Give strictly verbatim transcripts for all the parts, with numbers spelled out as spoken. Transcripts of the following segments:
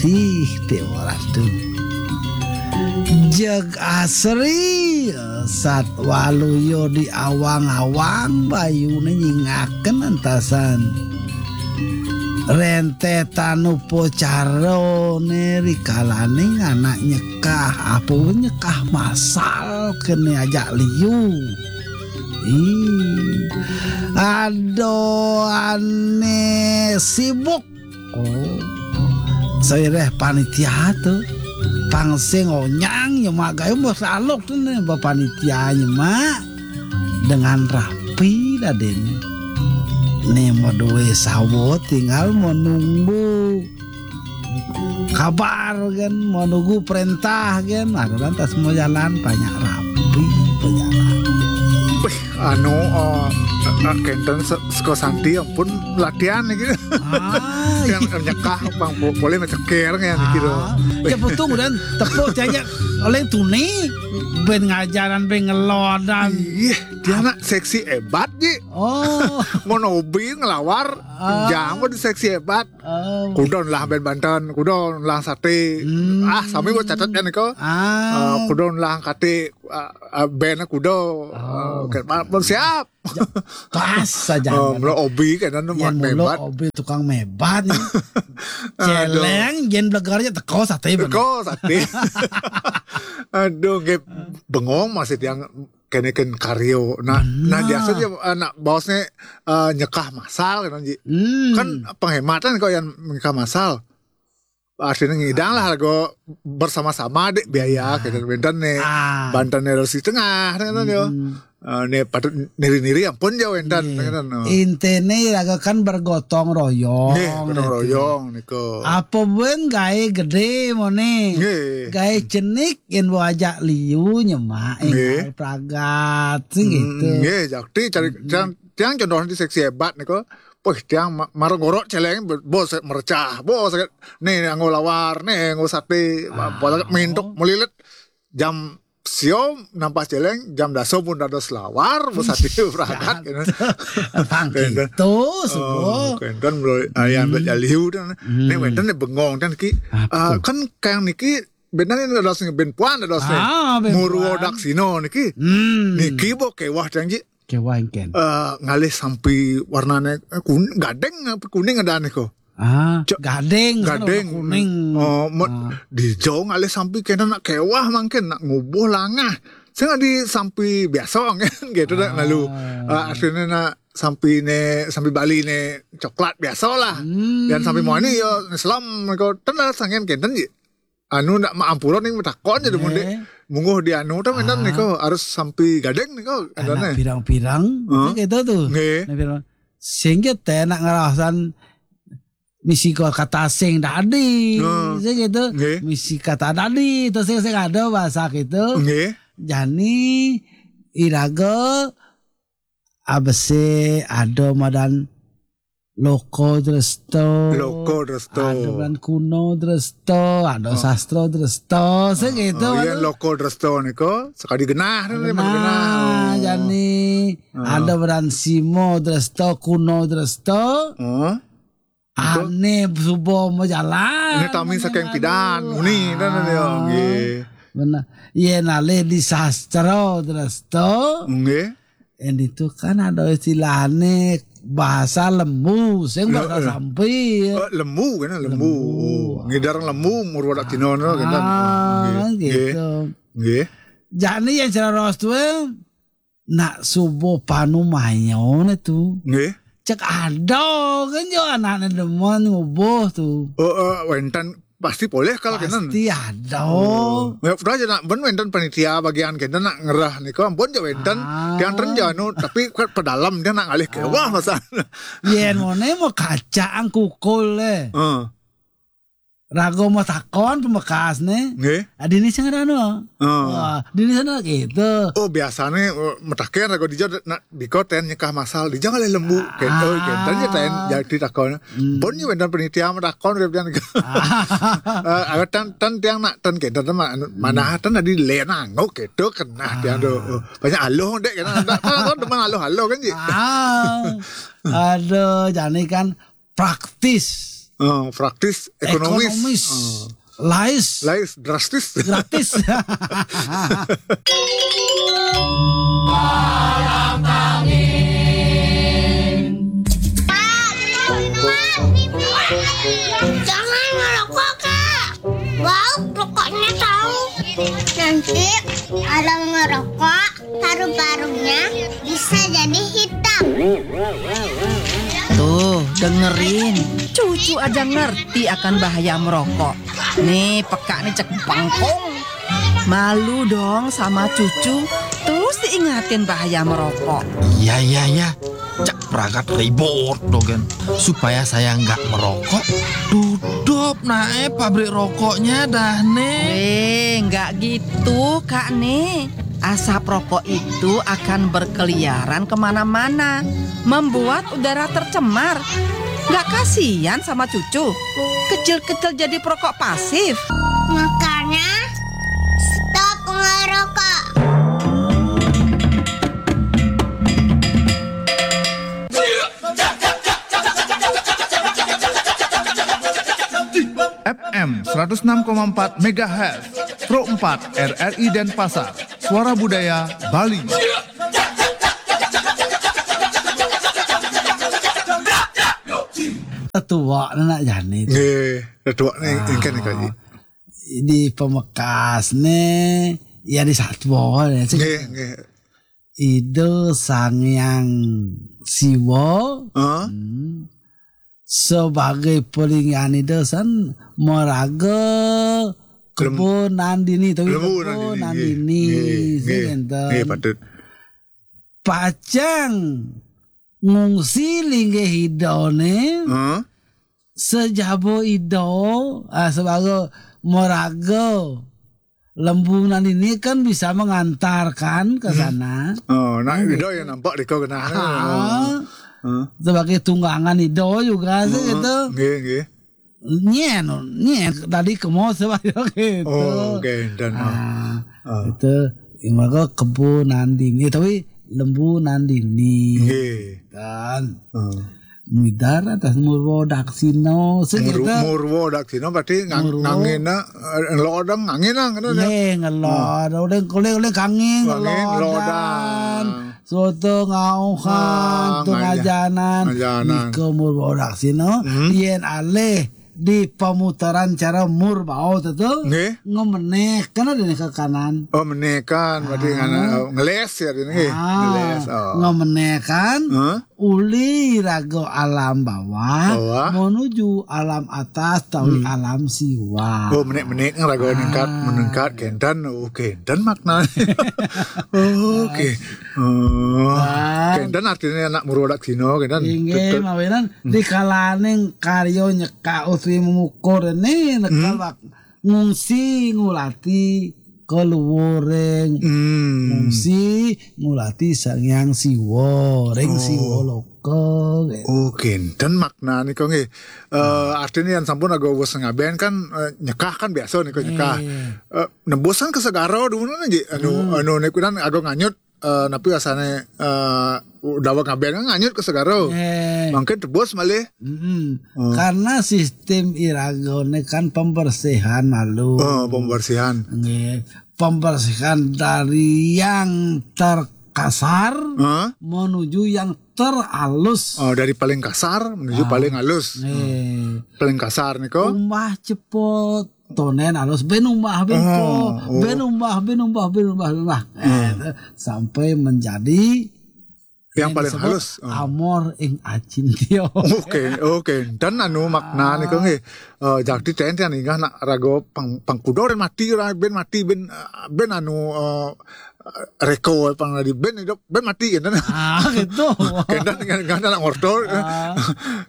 Ih, Déwa Ratu. Jeg asri, sat waluya di awang-awang, bayune nyingaken entasan. Rentetan upacarane rikalaning anak nyekah, apa nyekah masal kene ajak liu. Ih, aduh, ane sibuk. Oh. Saireh panitia tu. Pang sing onyang nyemak gayu mbok saluk tu ne, ba panitia nyemak dengan rapi dadene. Ne mau duwe sawo tinggal mau nunggu kabar kan, mau nunggu perintah kan, ada lantas mau jalan banyak rapi, banyak rapi. Wih, anu, eh, eh, kenten se- seko Santi ampun latihan iki. Ah, Yang nyekah pang po- boleh ngeceker kan gitu. Ah, ya betul dan tepuk aja oleh tuni ben ngajaran ben ngelodan. Iya, dia anak seksi hebat ji. Oh, Mau hobi ngelawar, Ah. jangan mau seksi hebat. oh. Kudon lah ben Banten, kudon lah sate. Hmm. Ah, sami buat catat kan kau. Ah, Eh, kudon lah kate, eh, eh, ben kudo. Oh. Eh, ke- ma- siap. Pas saja. Oh, mula hobi kan anu Yang mebat. Obi tukang mebat nih. Celeng, jen blegar aja teko sate bener. Kau sate. Aduh, nggih bengong masih tiang kene ken karyo. Nah, nah biasa aja anak bosnya eh, nyekah masal kan ji. Hmm. Kan penghematan kok yang nyekah masal. Artinya ngidang lah kok bersama-sama dek biaya kita benten nih. Ah. Banten nih harus di tengah kan yo. Hmm. Eh, nih patut niri-niri ampun jauh enten kan. Oh. Intene laga kan bergotong royong. Nggih, gotong royong niku. Apa ben gawe gede mone. Nggih. Gawe cenik yen mbok ajak liu nyemak Nggih. enggal pragat sing gitu. Hmm, nggih, jakti cari tiang tiang contohnya di seksi hebat niku. Wih, tiang ma- marang gorok celeng bos merecah, bos nih nganggo lawar, nih nganggo sate, bos mintuk melilit jam sio nampas celeng, jam daso pun dados lawar, bos sate pragat gitu. Tang gitu semua. Oh, kan kan bro, ayam hmm. Liu dan nek wenten nek bengong dan ki Apa ah, kan kang niki benar ini dados ben puan dados Ah, ben Murwo puan. Daksino niki. Hmm. Niki bo kewah tiang ji. Kewah engken. Eh, ngalih sampi warnane eh, kun, gadeng apa kuning ada niku. Ah, Cok, gadeng, sana gadeng. Kuning. Oh, mo- Ah. Di jauh ngalih sampi kena nak kewah mangkin nak ngubuh langah. Sing di sampi biasa kan gitu dah lalu. Ah, artinya nak sampi ne sampi Bali ne coklat biasa lah. Hmm. Dan sampi mani ya Islam mereka tenar sangen kenten ji. Anu nak maampura ning takon jadi mun Eh. mungguh di anu tuh kan niku harus sampi gadeng niku Anak katanya. Pirang-pirang Huh? gitu tuh. Nggih. Anak pirang. Sehingga teh nak ngerasan misi kata sing tadi, Hmm. sing gitu. Nggih. Misi kata tadi itu sing sing ada bahasa gitu. Nggih. Jani iraga abese ada madan loko dresto. Loko dresto. Ada madan kuno dresto, ada sastra dresto, sing gitu. Oh, iya Aduh. Loko dresto niku sekali genah nih Nah, genah. Jani ada madan simo dresto, kuno dresto. Oh. Ane suba mau jalan. Ini tami saking pidan muni dan ya nggih. Benar. Yen alih di sastra dresto, Nggih. yang itu kan ada istilahnya bahasa lembu, sing bahasa Heeh. sampi. Eh, lembu kan lembu. Lembu. Oh, ngidar lembu Murwo Daksino kan. Ah, gitu. Nggih. Jani yang cara ros tuh nak subuh panu mayon itu. Nggih. Cek ada kan yo anaknya demen ngubuh tuh. Oh, eh, wenten pasti boleh kalau kenen. Pasti ada. Ya udah aja nak ben wenten panitia bagian kenten nak ngerah niku ampun aja wenten. Ah. Tiang tren jano tapi kan pedalam dia nak ngalih kewah masa. Yen mone mau kacang kukul eh. Heeh. Rago mau takon pemekas nih. Nggih. Adini sing anu. Heeh. Wah, dini sana gitu. Oh biasanya eh, metaken rago dijo nak diko ten nyekah masal dijo ngalih lembu kento kenten ya ten jadi takon. Pun ya wenten panitia metakon dia bilang. Eh, ada tan tan tiang nak tan kenten mah anu, mana tan tadi lena ngok gitu kena tiang do. Oh, banyak aloh dek kena ada kan teman aloh-aloh kan ji. Ah. Aduh, jani kan praktis. Eh, praktis, ekonomis. Ekonomis. Eh. Lais. Lais, drastis. Gratis. Jangan ngerokok, Kak. Bau rokoknya tahu. Nanti orang ngerokok, paru-parunya bisa jadi hitam. Tuh, dengerin. Cucu aja ngerti akan bahaya merokok. Nih, peka nih cek bengkong. Malu dong sama cucu. Terus diingatin bahaya merokok. Iya, iya, iya. Cak pragat ribut dogen. Supaya saya nggak merokok, tutup nae pabrik rokoknya dah, Nek. Eh, nggak gitu, Kak Nek. Asap rokok itu akan berkeliaran kemana-mana, membuat udara tercemar. Nggak kasihan sama cucu? Kecil-kecil jadi perokok pasif. Makanya, stop ngerokok. F M seratus enam koma empat megahertz, Pro empat R R I Denpasar, Suara Budaya Bali. Tetua nak jadi. Nggih, tetua nih, ah, engken nih, Kak. Di Pamekas nih, ya di Satwa ya, sih. Nggih, nggih. Ida Sang Hyang Siwa, ah, hmm, sebagai pelingan Ida san meraga Lembu Nandini, tapi Lembu Nandini, nggih. Nandini, nggih, sing nggih, enten. Nggih, patut. Pacang ngungsi linggih Ida ne, hah? Sejaba Ida, ah, sebagai meraga Lembu Nandini kan bisa mengantarkan ke, hmm, sana. Oh, nak, nggih, Ida yang nampak di kau kena. Ah, hmm, sebagai tunggangan Ida juga sih, hmm, gitu. Nggih, nggih. Nyen, nyen tadi ke mau sebab gitu. Oh, oke, dan, ah, ah, ah, itu, yang mereka Kebo Nandini, tapi Lembu Nandini. Nggih. Kan. Ah. Midar atas Murwa Daksina, sing Mur-, kita. Murwa Daksina berarti ngang-, Murwa. Ngangina, eh, ngelodang, ngangina, kan, ya? Nggih, ngelodang. Ah. Oleh, oleh, oleh kangen, ngelodang, ngelodang. Soto ngauhan, ah, tu ngaja-, ngajanan. Ngajanan. Nika Murwa Daksina, hmm, yen alih di pemutaran cara Mur Bao tu, tu, nggih, ngemeneh, kan ada nih ke kanan. Oh, meneh kan, berarti, ah, ngana, oh, ngeles ya, ini, nggih. Ah, ngeles, oh. Ngemeneh kan, hah? Uli raga alam bawah, bawah, menuju alam atas, tawi, hmm, alam siwa. Oh, menek-menek raga, ah, meningkat, meningkat, kenten, oh, kenten maknanya. Oh, oke. Oh, kan. Kenten artinya anak Murwa Daksina, kenten. Inggih, betul. Mawinan, hmm, di kalaning karya nyekak utawi mengukur ini, nekal, hmm, wak-, ngungsi ngulati keluwuring. Hmm. Ngungsi ngulati Sang Hyang Siwa, ring, oh, Siwa Loka, gitu. Oh, kenten maknanya kok, nggih. Eh, artinya yang sampun agak wis ngaben kan, eh, nyekah kan biasa nih kok nyekah. Iya. Eh, nebusan ke segara dulu nggih. Anu, hmm, anu niku kan agak nganyut, eh, napi asane, eh, daweg ngaben kan nganyut ke segara. Eh. Mangkin tebus malih. Mm-mm. Hmm. Karena sistem iragane kan pembersihan malu. Oh, pembersihan. Nggih. Pembersihan dari yang terkasar, hah? Menuju yang teralus. Oh, dari paling kasar menuju, ah, paling alus. Nggih. Hmm. Paling kasar nika. Umbah cepot. Tonen alus, ben umbah, ben, oh, ko, oh, ben umbah, ben umbah, ben umbah, ben umbah. Hmm. Eh, sampai menjadi yang paling disebut halus. Hmm. Amor ing Acintya. Oke, oke. Dan anu makna, ah, nika nggih, eh, jadi tenten inggih nak raga pang-, pangkuda orang mati, orang ben mati, ben, eh, ben anu, eh, reka pang di ben hidup, ben mati kenten. Ah, gitu. Kenten kan, kan anak mortor. Ah.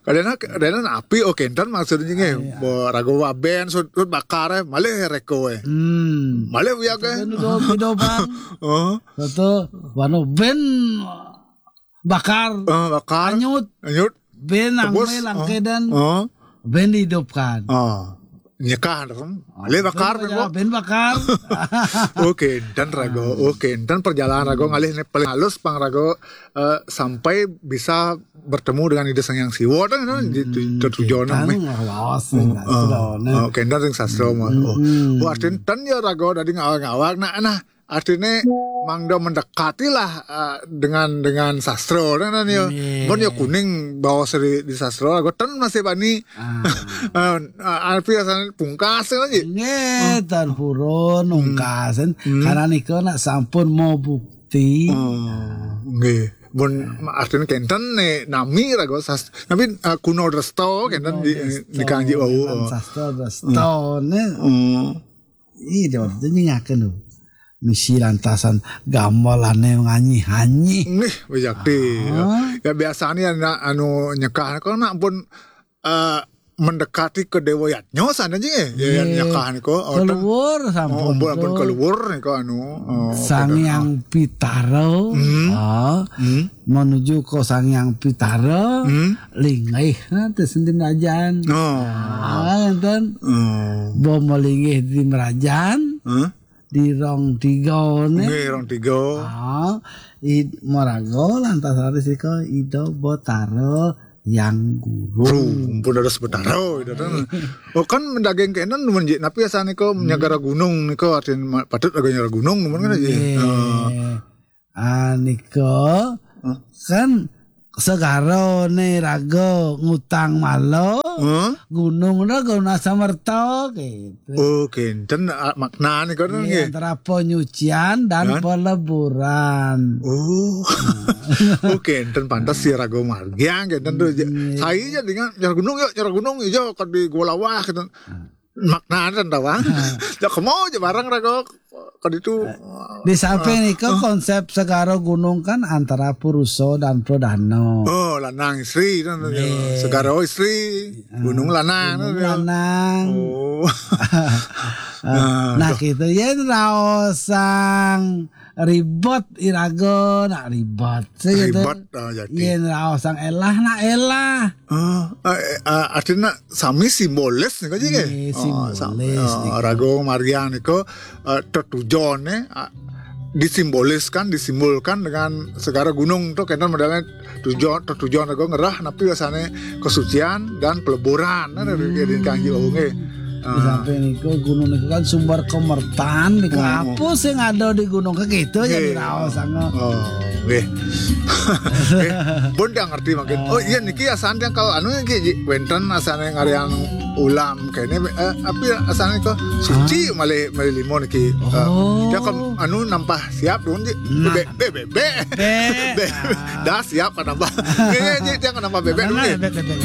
Kadang, kadang api, oh, kenten maksudnya nggih. Ah, iya. Bo raga aben, sud, sud bakar, eh, malih reka, eh. Hmm. Malih uyag, eh. Ben udah, udah, Bang. Oh. Satu, wanu ben bakar. Eh, bakar. Anyut. Anyut. Ben tebus, angme langkedan. Oh. Ben dihidupkan. Oh. nyekah, kan? Alih bakar, ben, ben bakar. Oke, dan rago, oke, dan perjalanan rago ngalih ne paling halus pang rago, eh, sampai bisa bertemu dengan Ida Sang Hyang Siwa, kan, kan, di, di, di tujuan. Kan, lawas, kan, eh, sastra, nah. Oh, kendan ring sastra mah. Oh. Wah, artin ten ya rago dadi ngawag-ngawag. Nah, nah, artinya mangda mendekatilah, eh, dengan, dengan sastra, nah, nah, ya. Bon ya kuning bawa seri di sastra, rago ten masih bani. Eh, eh, arti asalnya pungkas, kan, Ji? Nggih, tan purun, ungkasan. Karena nika nak sampun mau bukti. Oh, nggih. Bon, artinya kenten ne nami rago sas-, tapi, eh, kuno dresta kenten di, di kanji wau. Sastra dresta ne. Hmm. Ih, dia waktu itu nyingaken lho. Misi lantasan gamelane nganyi-hanyi. Nggih, wijakti. Ya, biasanya anak anu nyekah, kalau nak pun, eh, mendekati ke Dewa Yadnya sana aja, ya, ya, nyekah niku. Oh, keluar sampun, ampun, keluar niku anu. Oh, Sang Hyang Pitara, menuju ke Sang Hyang Pitara, linggih, nah, terus di Merajan. Oh. Ah, enten. Oh. Bo melinggih di Merajan, di rong tiga ne. Nggih, rong tiga. Ah, id maraga lantas raris ika Ida Betara Hyang Guru. Guru, ampun dados Betara, Ida ten. Oh, kan mendaging kenen numun, Ji. Napi asal nika nyagara gunung nika artin ma-, patut raga nyagara gunung numun kan, Ji? Nggih. Ah, nika kan segara ne raga ngutang mala, gunung raga guna samerta, gitu. Oh, kenten, ah, maknane kono nggih. Antara penyucian dan peleburan. Oh. Oh, kenten pantes si raga margiang kenten tuh. Saya aja dengan nyerah gunung yuk, nyerah gunung ijo ke di Gua Lawah gitu. Maknane tawang. Ya kemo aja bareng raga. Kan itu, di samping nika konsep segara gunung kan antara purusa dan pradana. Oh, lanang istri kan. Nggih. Segara istri, gunung lanang. Gunung lanang. Oh. Nah, gitu. Yen raosang ribet iraga nak ribet. Ribet, ah, jadi. Yen raosang elah nak elah. Ah, eh, eh, artinya sami simbolis nika, Ji, nggih? Nggih, oh, simbolis nika. Raga margiang nika, eh, tetujone, ah, disimboliskan, disimbolkan dengan segara gunung tuh kenten modalnya tujuan, tetujuan raga ngerah napi biasanya kesucian dan peleburan, nah, dari, dari Kanji Wau nggih. Di samping niku gunung niku kan sumber kemertan niku, apa sing ada di gunung ke gitu aja. Nggih. Diraos sangat. Oh, nggih. Nggih. Pun dia ngerti mungkin. Oh, iya niki asan dia kalau anu niki, Ji, wenten asane ngarian ulam kene, eh, api asane kok suci malih, malih limo niki. Eh, dia kan anu nampah siap dong, Ji. Nah. Be, be, be, be. Be. Be. Dah siap kan nampah. Nggih, nggih, Ji, dia kan nampah bebek dong, nggih. Bebek, bebek.